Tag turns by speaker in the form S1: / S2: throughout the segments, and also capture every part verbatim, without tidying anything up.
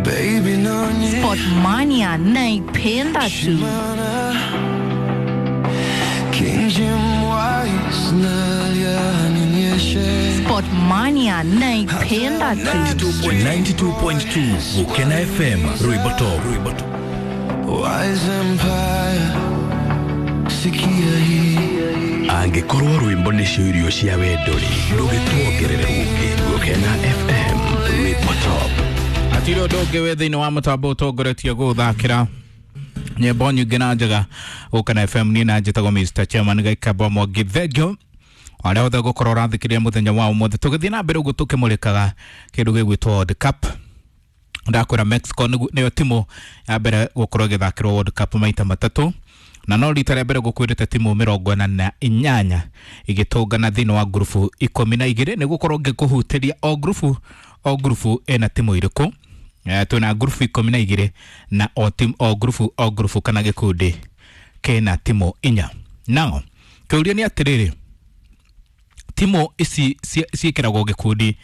S1: Baby, no nie
S2: Sportmania naipenda tu.
S1: King Jim Wise nalianinyeshe
S2: Sportmania naipenda tu.
S3: ninety-two point two Gukena F M Rwimbo Top.
S1: Wise Empire sikia hii
S3: Angĩkorwo rwĩmbo nĩcio irio cia wendo rĩ, ndũgĩtuongerere rũngĩ. Gukena F M Rwimbo Top.
S4: Hatirĩ ũndũ ũngĩ wĩ thĩinĩ wa mũtambo ũtongoretie gũthakĩra nyĩmbo nyingĩ na njega Gukena F M. Niĩ na njĩtagwo Mister Chairman Gaikamba Mwangi. Thengiũ arĩa othe gũkorwo ũrathikĩrĩria mũthenya wa ũmũthĩ tũgĩthiĩ na mbere ũguo tũkĩmũrĩkaga kĩndũ gĩgwĩtwo World Cup. Ndakwĩra Mexico nĩyo timu ya mbere gũkorwo ĩgĩthakĩrwo World Cup maita matatũ, na no rita rĩa mbere gũkwĩrĩte timu mĩrongo ĩna na inyanya igĩtũngana thĩinĩ wa ngurubu ikũmi na igĩrĩ. Nĩ gũkorwo ngĩkũhutĩria o ngurubu o ngurubu ĩna timu irĩkũ. Eh, twĩna ngurubu ikũmi na igĩrĩ na o timu o ngurubu o ngurubu kana gĩkundi kĩna timu inya. Nao kĩũria nĩ atĩrĩrĩ, timu ici ciĩkĩragwo gĩkundi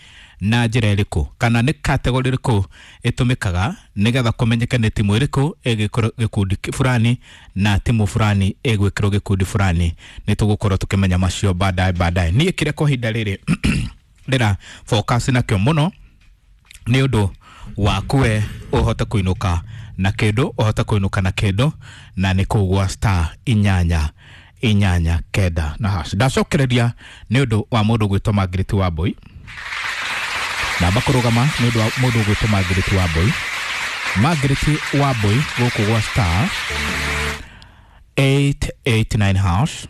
S4: na njĩra ĩrĩkũ, kana nĩ kategori ĩrĩkũ ĩtũmĩkaga nĩgetha kũmenyeke nĩ timu ĩrĩkũ ĩgĩkĩrwo gĩkundi fulani na timu fulani ĩgwĩkĩrwo gĩkundi fulani. Nĩ tũgũkorwo tũkĩmenya macio baadaye baadaye. Niĩ kĩrĩa kwa ihinda rĩrĩ ndĩra focus nakĩo mũno nĩ ũndũ waku we ũhote kũinũka na kĩndũ, ũhote kũinũka na kĩndũ, na nĩ kũu gwa star inyanya inyanya kenda na hash. Ndacokereria nĩ ũndũ wa mũndũ gwĩtwo Margaret Wambui. Namba kũrũgama nĩ ũndũ wa mũndũ gwĩtwo Margaret Wambui. Margaret Wambui gũkũ gwa star eight eight nine hash.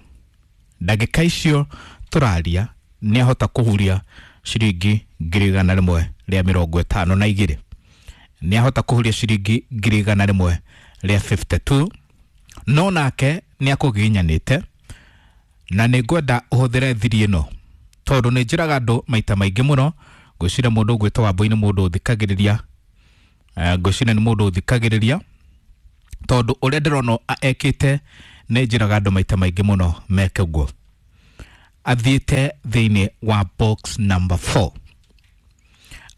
S4: Ndagĩka icio tũraria nĩ ahota kũhuria ciringi ngiri igana rĩmwe rĩa mĩrongo ĩtano na igĩrĩ. Nĩ ahota kũhuria ciringi ngiri igana rĩmwe rĩa fifty-two. No nake nĩ akũgiginyanĩte, na nĩ ngwenda ũhũthĩre thiri ĩno tondũ nĩ njĩraga andũ maita maingĩ mũno. Ngwĩciria mũndũ ũgwĩtwo Wambui nĩ mũndũ ũthikagĩrĩria. Eh, ngwĩciria nĩ mũndũ ũthikagĩrĩria tondũ ũrĩa ndĩrona ekĩte nĩ njĩraga andũ maita maingĩ mũno meke ũguo. Athiĩte thĩinĩ wa box number four,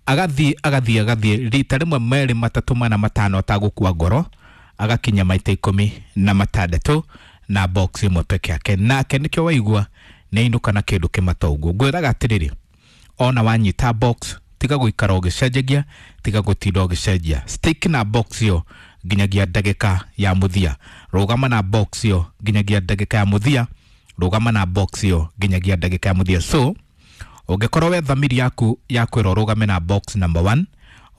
S4: agathiĩ agathiĩ agathiĩ rita rĩmwe merĩ matatũ mana matano atagũkua ngoro, agakinya maita ikũmi na matandatũ na box ĩmwe peke yake. Nake nĩkĩo waigua nĩ ainũka na kĩndũ kĩmata ũguo. Ngwĩraga atĩrĩrĩ, ona wanyita box tiga gũikara ũgĩcenjagia, tiga gũtinda ũgĩcenjia, stick na box ĩyo nginyagia ndagĩka ya mũthia. Rũgama na box ĩyo nginyagia ndagĩka ya mũthia, rũgama na box ĩyo nginyagia ndagĩka ya mũthia. So ũngĩkorwo we thamiri yaku ya kwĩra ũrũgame na box number one,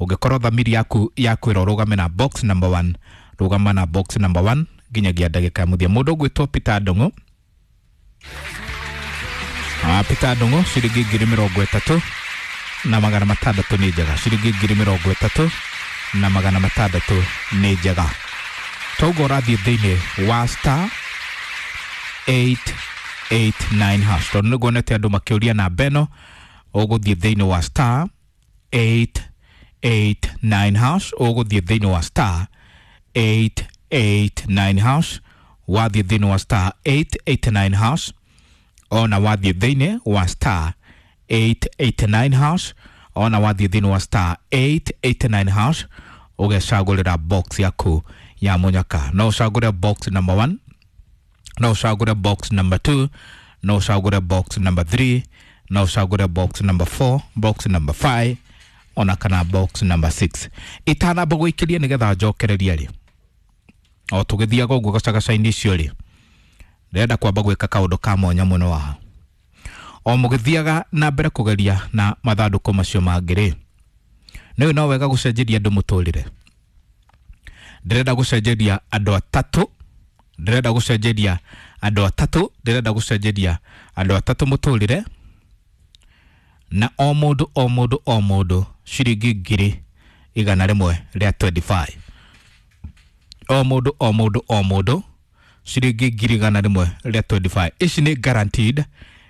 S4: ũngĩkorwo thamiri yaku ya kwĩra ũrũgame na box number one, rũgama na box number one nginyagia ndagĩka ya mũthia. Mũndũ ũgwĩtwo Peter Ndung'u, ah, Peter Ndung'u ciringi ngiri mĩrongo ĩtatũ na magana matandatũ nĩ njega. Ciringi ngiri mĩrongo ĩtatũ na magana matandatũ nĩ njega. Toguo ũrathiĩ thĩinĩ wa star eight eight nine hash. Tondũ nĩguo nete andũ makĩũria namba ĩno, ũgũthiĩ thĩinĩ wa star eight eight nine hash, ũgũthiĩ thĩinĩ wa star eight eight nine hash, wathiĩ thĩinĩ wa star eight eight nine hash, ona wathiĩ thĩinĩ wa star eight eight nine hash, ona wathiĩ thĩinĩ wa star eight eight nine hash, ũgecagũrĩra box yaku ya mũnyaka. No ũcagũre box number one, no ũcagũre box number two, no ũcagũre box number three, no ũcagũre box number four, box number five, ona kana box number six. Itanamba gũikĩria nĩgetha njokererie rĩ, o tũgĩthiaga ũguo gacagaca-inĩ icio rĩ, ndĩrenda kwamba gwĩka kaũndũ ka mwanya mũno haha. O mũgĩthiaga na mbere kũgeria na mathandũkũ macio mangĩ rĩ, nĩ no wega gũcenjeria andũ mũtũrĩre. Ndĩrenda gũcenjeria andũ atatũ, ndĩrenda gũcenjeria andũ atatũ, ndĩrenda gũcenjeria andũ atatũ mũtũrĩre, na o mũndũ o mũndũ o mũndũ ciringi ngiri igana rĩmwe rĩa twenty-five. O mũndũ o mũndũ o mũndũ ciringi ngiri igana rĩmwe rĩa twenty-five. Ici nĩ guaranteed,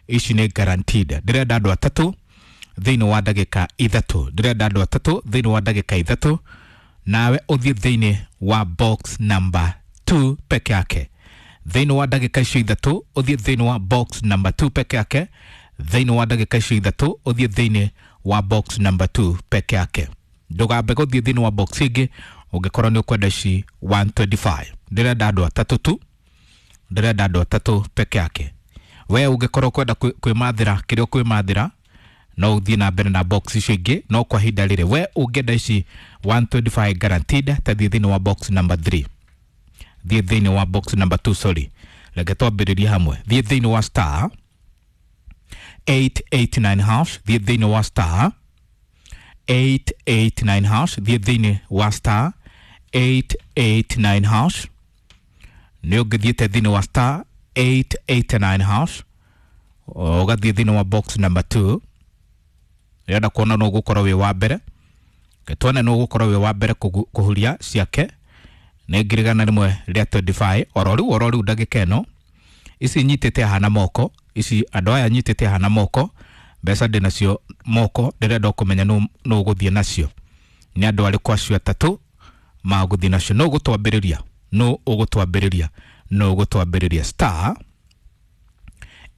S4: ici nĩ guaranteed. Ndĩrenda andũ atatũ thĩinĩ wa ndagĩka ithatũ, ndĩrenda andũ atatũ thĩinĩ wa ndagĩka ithatũ, nawe ũthiĩ thĩinĩ wa box number two peke yake. Thĩinĩ wa ndagĩka icio ithatũ ũthiĩ thĩinĩ wa box number two peke yake. Thĩinĩ wa ndagĩka icio ithatũ ũthiĩ thĩinĩ wa box number two peke yake. Ndũgambe gũthiĩ thĩinĩ wa box ĩngĩ ũngĩkorwo nĩ ũkwenda ici one twenty-five. Ndĩrenda andũ atatũ tu, ndĩrenda andũ atatũ peke yake. We ũngĩkorwo ũkwenda kwĩmathĩra kĩrĩa ũkwĩmathĩra no ũthiĩ na mbere na box icio ingĩ, no kwa ihinda rĩrĩ we ũngĩenda ici one twenty-five guaranteed, ta thiĩ thĩinĩ wa box number three, thiĩ thĩinĩ wa box number two, sorry, reke twambĩrĩrie hamwe. Thiĩ thĩinĩ wa star eight eight nine hash, thiĩ thĩinĩ wa star eight eight nine hash, thiĩ thĩinĩ wa star eight eight nine hash. Nĩ ũngĩthiĩte thĩinĩ wa star eight eight nine hash ũgathiĩ thĩinĩ wa box number two. Ndĩrenda kuona nũ ũgũkorwo wĩ wa mbere, tuone nũ ũgũkorwo wĩ wa mbere kũhuria ciake. Nĩ ngiri igana rĩmwe rĩa twenty-five oro rĩu oro rĩu ndagĩka ĩno. Ici nyitĩte haha na moko, ici andũ aya nyitĩte haha na moko, mbeca ndĩ nacio moko, ndĩrenda kũmenya nũ nũ ũgũthiĩ nacio. Nĩ andũ arĩkũ acio atatũ magũthiĩ nacio? Nũ ũgũtwambĩrĩria? Nũ ũgũtwambĩrĩria? Nũ ũgũtwambĩrĩria? Star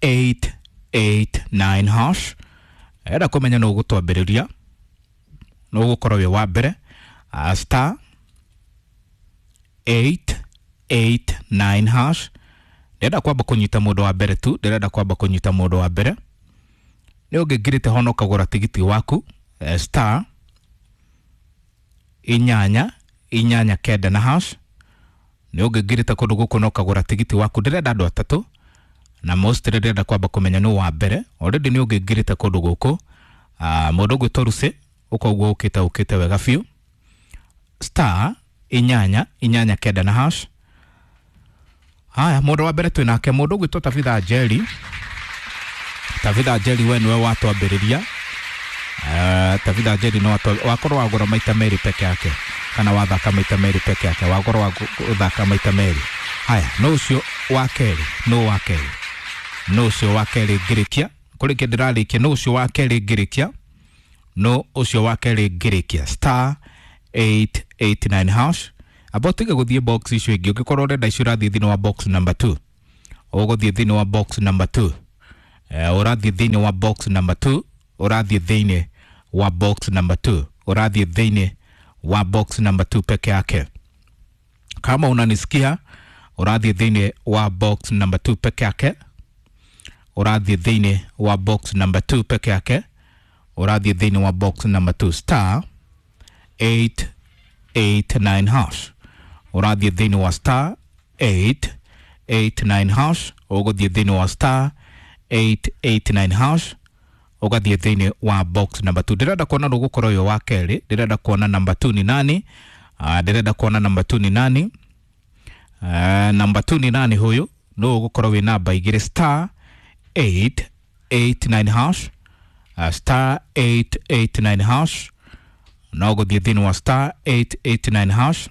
S4: eight eight nine hash. Enda kũmenya nũ ũgũtwambĩrĩria, nũ ũgũkorwo wĩ wa mbere. Star eight eight nine hash. Ndĩrenda kwamba kũnyita mũndũ wa mbere tu, ndĩrenda kwamba kũnyita mũndũ wa mbere. Nĩ ũngĩngirĩte hono ũkagũra tigiti waku star inyanya inyanya kenda na hash. Nĩ ũngĩngirĩte kũndũ gũkũ na ũkagũra tigiti waku. Ndĩrenda andũ atatũ na most ndĩrenda kwamba kũmenya nũ wa mbere. Already nĩ ũngĩngirĩte kũndũ gũkũ. Mũndũ ũgwĩtwo Lucy ũkoguo ũkĩte ũkĩte wega biũ. Star inyanya inyanya kenda na hash. Haya, mũndũ wa mbere twĩ nake mũndũ ũgwĩtwo Tabitha Njeri. Tabitha Njeri we nĩwe watwambĩrĩria. Uh, Tabitha Njeri no wakorwo wagũra maita merĩ peke yake, kana wathaka maita merĩ peke yake, wakorwo wathaka maita merĩ. Haya, no ũcio wa kerĩ, no wa kerĩ, no ũcio wa kerĩ ngĩrĩkia kũrĩkia ndĩrarĩkia, no ũcio wa kerĩ ngĩrĩkia, no ũcio wa kerĩ ngĩrĩkia star eight eight nine hash. Amba ũtige gũthiĩ box icio ingĩ, ũngĩkorwo ũrenda icio ũrathiĩ thĩinĩ wa box number two, ũgũthiĩ thĩinĩ wa box number two, ũrathiĩ thĩinĩ wa box number two, ũrathiĩ thĩinĩ wa box number two, ũrathiĩ thĩinĩ wa box number two peke yake. Kama unanisikia, ũrathiĩ thĩinĩ wa box number two peke yake, ũrathiĩ thĩinĩ wa box number two peke yake, ũrathiĩ thĩinĩ wa box number two star eight eight nine hash. Ũrathiĩ thĩinĩ wa star eight eight nine hash, ũgũthiĩ thĩinĩ wa star eight eight nine hash, ũgathiĩ thĩinĩ wa box number two. Ndĩrenda kuona nũ ũgũkorwo ũyũ wa kerĩ, ndĩrenda kuona number two ni nani. Ndĩrenda kuona number two ni nani. Number two ni nani huyu? Nũ ũgũkorwo wĩ namba igĩrĩ star eight eight nine hash, star eight eight nine hash. No ũgũthiĩ thĩinĩ wa star eight eight nine hash.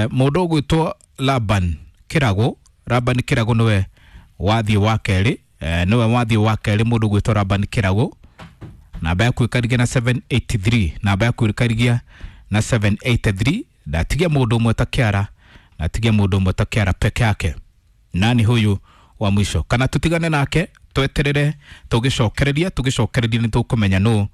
S4: Mũndũ ũgwĩtwo Laban Kĩrago, Laban Kĩrago nĩwe wathiĩ wa kerĩ, nĩwe wathiĩ wa kerĩ mũndũ ũgwĩtwo Laban Kĩrago. Namba yaku ĩkarigia na seven eight three, namba yaku ĩkarigia na seven eight three. Ndatigia mũndũ ũmwe ta kĩara, ndatigia mũndũ ũmwe ta kĩara peke yake. Nani huyu wa mwisho? Kana tutigane nake tweterere tũgĩcokereria, tũgĩcokereria nĩ tũkũmenya nũ